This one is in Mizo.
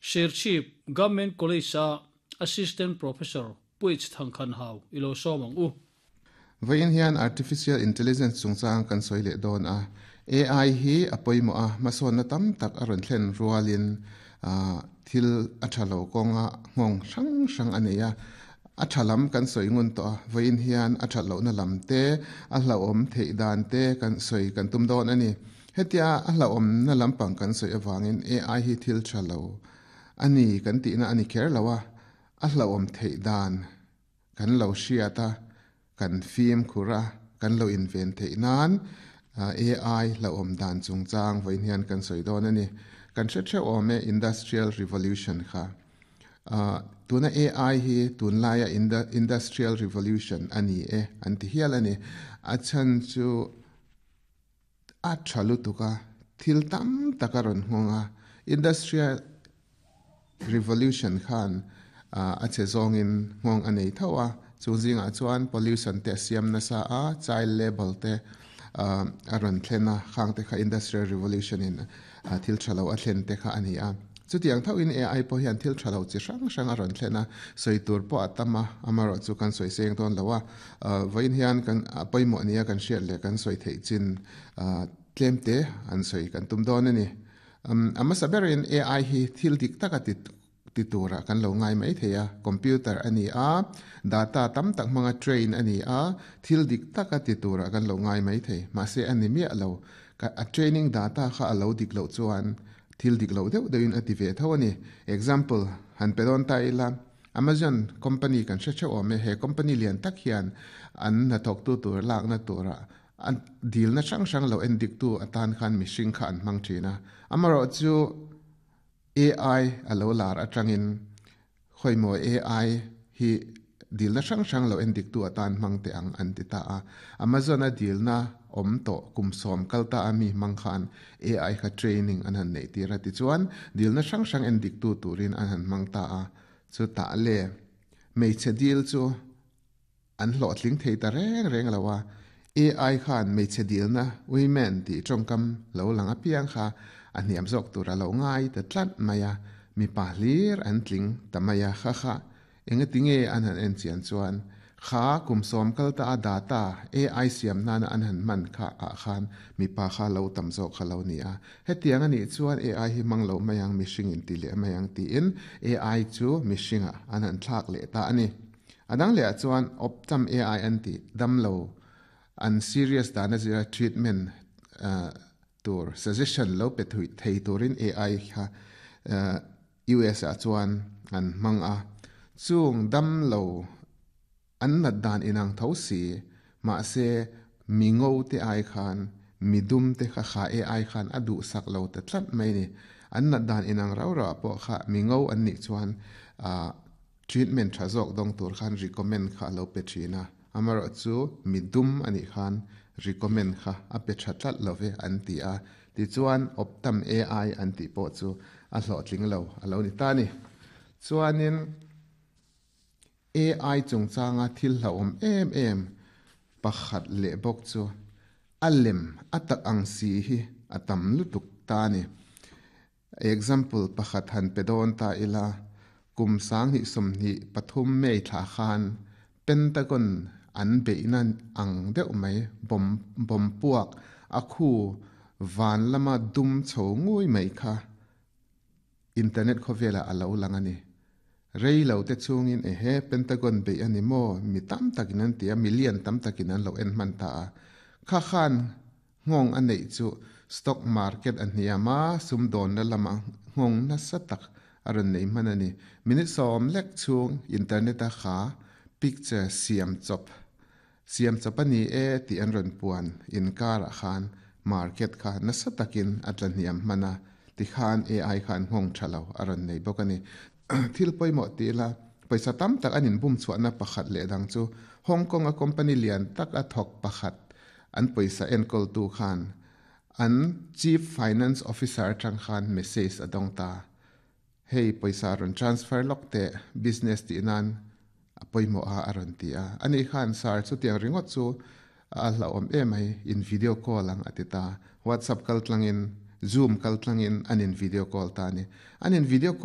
Serchhip Government College-a Assistant Professor Puich Thangkhanhau i lo sawm ang u. Vawiin hian Artificial Intelligence chungchang kan sawi leh dawn a. AI hi a pawimawh a, hmasawnna tam tak a rawn thlen rualin thil a tha lo kawnga nghawng hrang hrang a nei a. A tha lam kan sawi ngun tawh a, vawiin hian a that lohna lam te, a hlauhawm theih dan te kan sawi kan tum dawn a ni. Hetia a hlauhawmna lampang kan sawi avangin AI hi thil tha lo a ni kan tihna a ni kher lo a, a hlauhawm theih dan kan lo hriat a, kan fimkhur a, kan lo inven theih nan AI hlauhawm dan chungchang vawiin hian kan sawi dawn a ni. Kan hre theuh awm e Industrial Revolution kha. Tuna AI hi tunlaia Industrial Revolution a ni e an ti hial a ni. A chhan chu a tha lutuk a, thil tam tak a rawn nghawng a. Industrial Revolution khan a che zawngin nghawng a nei tho a, chung zingah chuan pollution te a siam nasa a, child labour te a rawn thlen a, khang te kha Industrial Revolution in thil tha lo a thlen te kha a ni a. Chutiang thoin AI pawh hian thil tha lo chi hrang hrang a rawn thlen a, sawi tur pawh a tam a, amaherawhchu kan sawi seng dawn lo a. Vawiin hian kan pawimawh nia kan hriat leh kan sawi theih chin tlem te an sawi kan tum dawn a ni. A hmasa berin AI hi thil dik taka ti ti turah kan lo ngai mai thei a, computer a ni a, data tam tak hmanga train a ni a, thil dik taka ti turah kan lo ngai mai thei. Mahse a ni miah lo, a training data kha a lo dik loh chuan thil dik loh deuh deuhin a ti ve tho a ni. Example han pe dawn ta ila, Amazon company kan hre theuh awm e, he company lian tak hian an hnathawktu tur lakna turah a dilna hrang hrang lo endiktu atan khan mihring kha an hmang thin a. Amaherawhchu AI a lo lar atangin khawimaw AI hi dilna hrang hrang lo endiktu atan hmang teh ang an ti ta a. Amazon a dilna awm tawh kum sawm kal ta a mi hmang khan AI kha training an han neih tir a tichuan dilna hrang hrang endiktu turin an han hmang ta a. Chutah le hmeichhe dil chu An hlawhtling thei ta reng reng lo a, AI khan hmeichhe dilna women tih tawngkam lo lang apiang kha a hniam zawk tur a lo ngai ta tlat mai a, mipa hlir an tling ta mai a kha kha engatinge an han en chian chuan kha kum sawm kal ta a data AI siam nana an han hman kha ah khan mipa kha lo tam zawk kha lo ni a, hetiang a nih chuan AI hi hmang lo mai ang mihring in ti leh mai ang tiin AI chu mihringah an han thlak leh ta a ni. A dang leh ah chuan Optam AI an tih damlo an serious dan a zira treatment tur suggestion lo pe thei turin AI kha US ah chuan an hmang a. Chung damlo an nat dan inang tho si mahse mi ngo te ai khan mi dum te kha kha AI khan a duhsak lo ta tlat mai ni. An nat dan inang rau rau ah pawh kha mi ngo an nih chuan Treatment tha zawk dawng tur khan recommend kha a lo pe thin a, amaherawh chu mi dum a nih khan recommend kha a pe tha tlat lo ve an ti a, tichuan Optam AI an tih pawh chu a hlawhtling lo a lo ni ta a ni. Chuanin AI chungchanga thil hlauhawm em em pakhat leh bawk chu a lem a tak ang si hi a tam lutuk ta a ni. Example pakhat han pe dawn ta ila, kum 2023 May thla khan Pentagon an beihna ang deuh mai bomb bomb puak a khu van lama dum chho ngui mai kha internet khawvelah a lo lang a ni. Rei lo te chungin ehe Pentagon beih a ni maw? Mi tam takin an ti a, million tam takin an lo en hman ta a. Kha khan Nghawng a neih chu stock market a hniam a, sumdawnna lama nghawng nasa tak a rawn nei hman a ni. Minute sawm lek chhung internet a kha picture siam chawp siam chawp a ni e tih an rawn puan inkarah khan market kha nasa takin a tla hniam hman a, tikhan AI khan nghawng tha lo a rawn nei bawk a ni. Thil pawimawh ti ila, pawisa tam tak an inbum chhuahna pakhat leh dang chu Hong Kong a company lian tak a thawk pakhat an pawisa enkawltu khan an Chief Finance Officer atang khan message a dawng ta. Hei pawisa rawn transfer lawk teh, business tih nan a pawimawh a a rawn ti a. Ani khan sir chutiang ringawt chu a hlauhawm em mai, in video call ang a ti ta. WhatsApp kaltlangin, Zoom kaltlangin an in video call ta a ni. An in video.